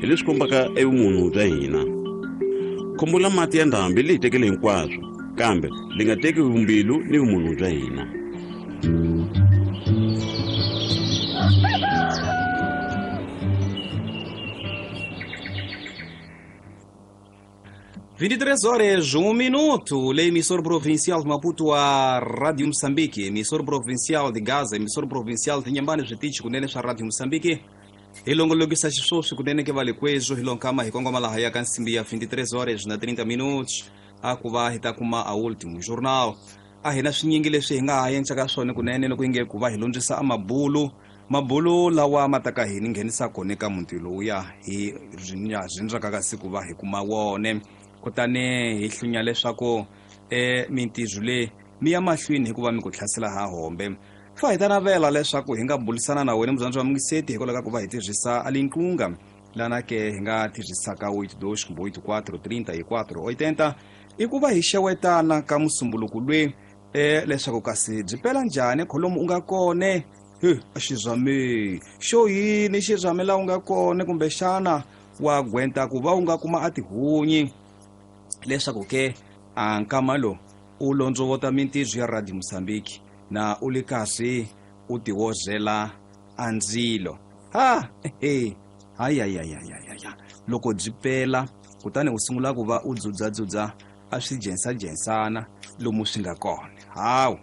Hi leswi kombaka evumunhu bya hina. Khombo la mati ya ndhambi li hi tekele hinkwaswo, kambe li nga teki vumbilu ni vumunhu bya hina. 23 horas 1 minuto. Lei emissora provincial de Maputo a Rádio Moçambique, emissora provincial de Gaza, emissora provincial de Inhambane, switichi kunene swa Rádio Moçambique. Hi longolokisa xiswoswi kunene ke va le kwezo hi lonkama hi kongoma laha ya ka nsimbi ya 23 horas na 30 minutos a ku va hi ta kuma a último jornal. A hi na swinyingi leswi hi nga ha endlaka swona kunene loko yi nge ku va hi londzisa a mabulu mabulu lawa ma ta ka hi ni nghenisa kona eka muti lowuya hi rindzaka ka siku va hi kuma wone. Kutani hi hlunya leswaku mintirho leyi mi ya mahlweni hikuva mi ku hlasela ha hombe. Fa hi ta navela leswaku hi nga bulisana na wena mudyondzi wa mungiseti hikwalaho ka ku va hi tirhisa alinqunga lana ke hi nga tirhisaka 82 kumbe 84 34 80 i ku va hi xewetana ka musumbuluku lwe leswaku kasi byi pela njhani kholomu u nga kone. He a xizame xo yini xizame la u nga kone, kumbexana wa gwenta ku va u nga kuma a tihunyi leswaku ke a nkama lo u londzovota mintirho ya Radio Mozambique na u le kasi u tiwozela a ndzilo. Ha he hayayayayaya loko byi pela kutani u sungula ku va u dzudzadzudza a swi jensajensana lomu swi nga kona. Hawu.